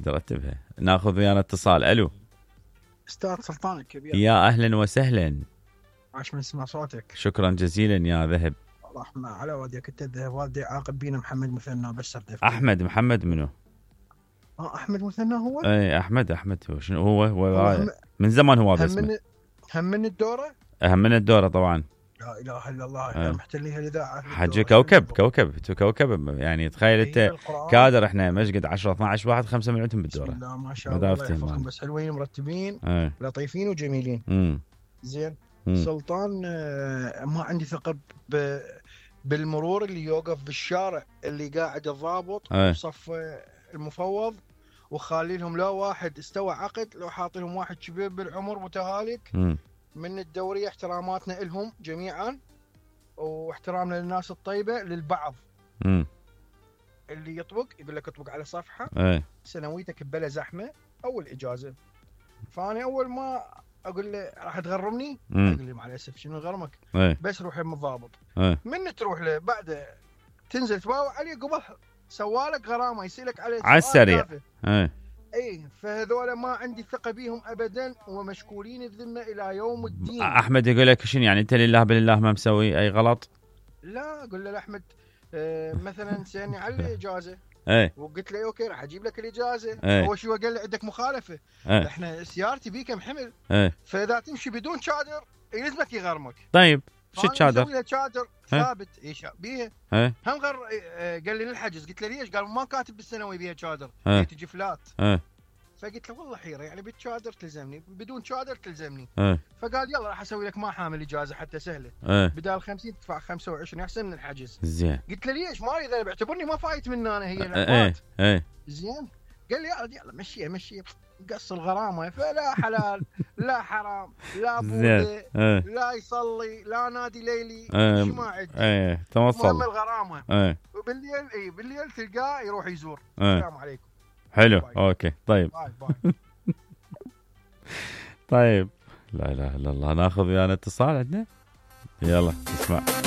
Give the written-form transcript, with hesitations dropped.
نرتبها. ناخذ ويانا اتصال. الو استاذ سلطان الكبير، يا اهلا وسهلا. عاش من اسمع صوتك. شكرا جزيلا يا ذهب. رحمة على والديك انت الذهب، والدي عاقب بينا محمد مثنى بس احمد محمد منو؟ احمد مثنى هو؟ اي احمد هو شنو هو من زمان هو بس هم من الدوره؟ هم من الدوره طبعا. لا اله الا الله. محتليها الاذاعه حجي كوكب يعني تخيل انت كادر احنا مشقد 10 12 واحد 5 مليون بالدوره. بسم الله ما شاء الله يحفظهم، بس حلوين مرتبين لطيفين وجميلين. زين. سلطان ما عندي ثقه بالمرور اللي يوقف بالشارع اللي قاعد الضابط صف المفوض وخالي لهم لا واحد استوى عقد، لو حاطي لهم واحد كبير بالعمر متهالك. من الدورية احتراماتنا لهم جميعا واحترامنا للناس الطيبة للبعض. اللي يطبق يقول لك اطبق على صفحة سنويتك ببلا زحمة أول إجازة. فأنا أول ما أقول له راح تغرمني أقول له مع الأسف شنو غرمك بس روح يم الضابط. من تروح له بعد تنزل تباوع عليه قبل سوالك غرامة يسألك عليه على السريع. اي فهذول ما عندي ثقة بيهم ابدا ومشكولين الذمة الى يوم الدين. احمد يقول لك شنو يعني انت لله بالله ما مسوي اي غلط؟ لا اقول له احمد مثلا سألني على الاجازة وقلت له اوكي راح اجيب لك الاجازة. هو شو قال لي عندك مخالفة. احنا سيارتي بي كم حمل فاذا تمشي بدون شادر يلزمك يغرمك. طيب شو الشادر؟ مسوي له شادر ثابت ايش بيها هم قال لي للحجز. قلت له ليش؟ قال ما كاتب بالسنوي بيها شادر تجي فلات. فقلت له والله حيره يعني بالشادر تلزمني بدون شادر تلزمني. فقال يلا راح اسوي لك ما حامل اجازه حتى سهله بدال 50 تدفع 25 احسن من الحجز. زين. قلت له ليش؟ ما اذا بعتبرني ما فايت من انا هي العقد. زين. قال لي يلا مشيه قص الغرامه. فلا حلال لا حرام لا بوذي لا يصلي لا نادي ليلي شو ما عندي. توصل المهم الغرامه. وبالليل بالليل تلقاه يروح يزور. السلام عليكم. حلو باي. اوكي طيب باي. طيب لا اله الا الله. ناخذ ويانا اتصال عندنا. يلا اسمع.